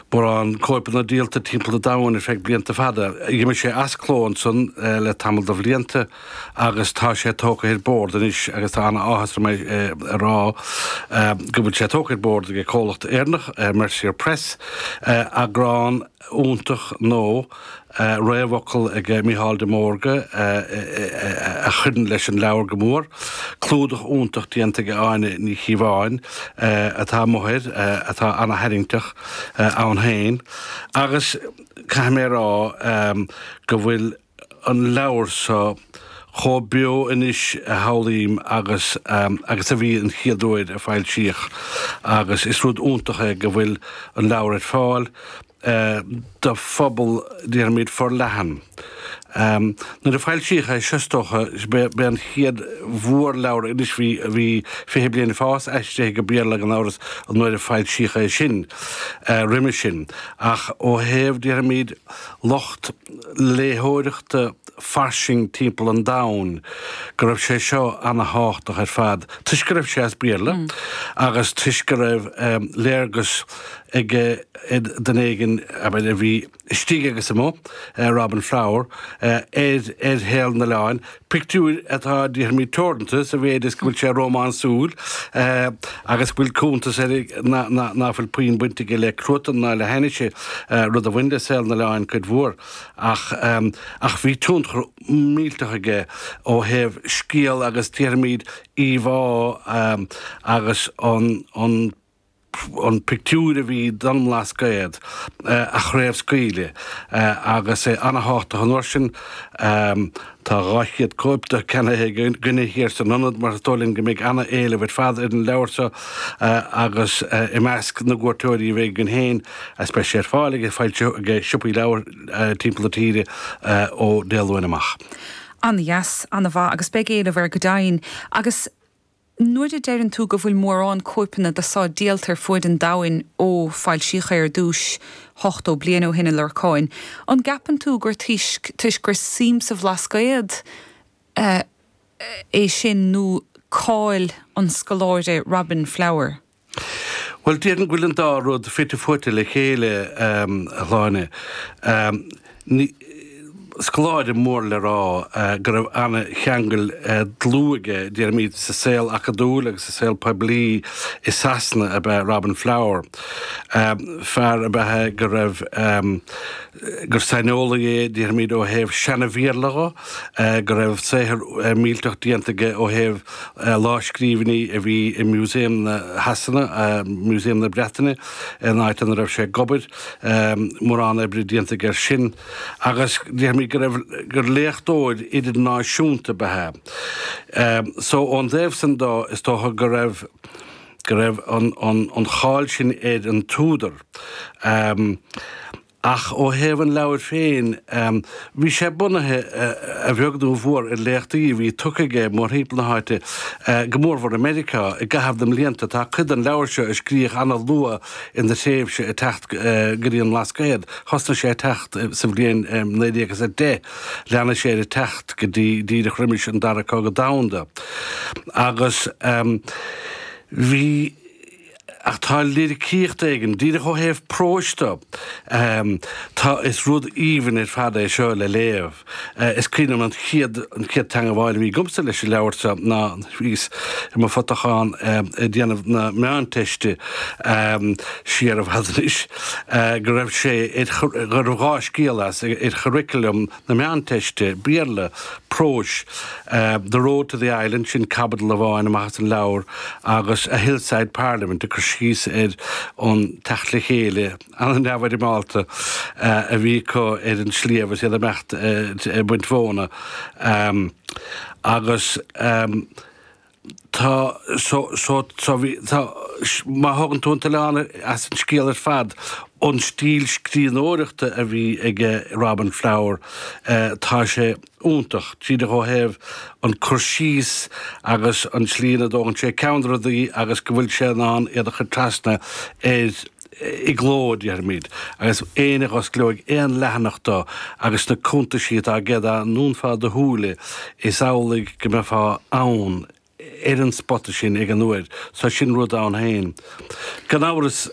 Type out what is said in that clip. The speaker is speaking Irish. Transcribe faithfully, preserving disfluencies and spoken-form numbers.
Mórán cóipeanna díolta timpeall an domhain ar feadh blianta fada. D'imigh sé as cló ansan le tamall de bhlianta agus tá sé tógtha ar bord anois agus tá an-áthas orm é a rá go bhfuil sé tógtha ar bord ag comhlacht Éireannach, Mercier Press, eagrán iontach nua, réamhfhocal ag Mícheál de Mórdha a chuireann leis an leabhar go mór, clúdach iontach déanta ag Áine Ní Chíobháin atá amuigh air, atá ana-tharraingteach ann féin agus caithfidh mé a rá go bhfuil an leabhar seo chomh beo anois a shamhlaím agus agus a bhí an chéad uair a foilsíodh agus is rud iontach é go bhfuil an leabhar ar fáil. do phobal, déarfaimid, forleathan. Nuair a foilsíodh é seo, is dócha, b'é an chéad mhórleabhar, anois bhí bhí Fiche Bliain ag Fás aistrithe go Béarla gan amhras nuair a foilsíodh é sin roimhe sin, ach ó thaobh, déarfaimid, lucht léitheoireachta fairsing timpeall an domhain, go raibh sé seo ana-thábhachtach ar fad, toisc go raibh sé as Béarla agus toisc go raibh léargas ag duine éigin, abair, a bhí istigh agus amuigh, Robin Flower, ar ar shaol an oileáin, pictiúir atá, déarfaimid, teoranta sa mhéid is go bhfuil sé rómánsúil agus go bhfuil cuntas air ná fuil puinn baint aige le cruatan ná le hainnise, rud a bhain le saol an oileáin cuid mhór. Ach ach bhí tionchar millteach aige ó thaobh scéal agus, déarfaimid, íomhá agus an an an pictiúr a bhí don mBlascaod a chraobhscaoileadh agus é ana-thábhachtach an uair sin. Tá dhá chéad cóip de ceannaithe againne thiar san Ionad mar is dóigh linn go mbeidh ana-éileamh ar fad ar an leabhar seo agus i measc na gcuairteoirí a bheidh againn féin is beidh sé ar fáil ag ag siopaí leabhar timpeall na tíre ó Dé Luain amach. An-dheas, an-mhaith agus beidh éileamh air go deimhin. Agus nuair a deireann tú go bhfuil mórán cóipeanna de seo díolta ar fuaid an domhain ó foilsíodh é ar dtús ochtó bliain ó shin a Lorcáin, an gceapann tú gur toisc toisc gur suim sa Bhlascaod é sin nó cáil an scoláire Robin Flower? Bhuel, déarfainn go bhfuil an dá rud fite fuaite le chéile, a Shláine. Ní. scoláire mór le rá go raibh ana-cheangal dlúth aige, déarfaimid, sa saol acadúil agus sa saol poiblí i Sasana ab ea Robin Flower. Fear ab ea é go raibh, gur saineolaí é, déarfaimid, ó thaobh seana-Bhéarla dho, go raibh saothar millteach déanta aige ó thaobh lámhscríbhinní a bhí i Museum na Shasana, Museum na Breataine, an áit ina raibh sé ag obair, mórán oibre déanta aige air sin. Agus déarfaimid go raibh, gur léachtóir idirnáisiúnta ab ea é. So ón dtaobh san dó, is dócha go raibh, go raibh an, an, an cháil sin ar an t-údar. Ach ó thaobh an leabhair féin, bhí sé bunaithe, a bheag nó a mhór, ar léachtaí a bhí tugtha aige mórthimpeall na háite, go mórmhór i Meiriceá, i gcaitheamh na mblianta. Tá cuid den leabhar seo a scríodh ana-luath ina thréimhse ag teacht go dtí an mBlascaod. Thosnaigh sé ag teacht sa bhliain naoi déag is a deich, lean sé air ag teacht go dtí díreach roimis an Dara Cogadh Domhanda. Agus bhí. Ach tá liricíocht éigin, díreach ó thaobh próis de, tá, is rud aoibhinn ar fad é seo le léamh. Is cuimhin liom an chéad, an chéad teangabháil a bhí agamsa leis an leabhar seo ná bhíos i mo phutachán ag déanamh na Meánteiste siar i bhfad anois, go raibh sé ar, go raibh dhá scéal as ar churriculum na Meánteiste, Béarla, próis, The Road to the Island, sin caibidil amháin amach as an leabhar, agus A Hillside Parliament, ag cur síos ar an teacht le chéile an-neamhfhoirmeálta a bhí acu ar an sliabh is iad ag imeacht ag baint mhóna. Agus. Tá, so, so, so bhí, tá, má thógann tú an t-oileán as an scéal ar fad, an stíl scríbhneoireachta a bhí ag Robin Flower, tá sé iontach, díreach ó thaobh an cur síos agus an tslí ina dtógann sé ceann de rudaí agus go bhfuil sé in ann iad a chur trasna ar i gcló, déarfaimid, agus éinne a dh'osclóidh aon leathanach dó agus na cuntaisí atá aige dá ndúnfá do shúile is amhlaidh go mbeifeá ann ar an spota sin ag an uair, so sin rud ann féin. Gan amhras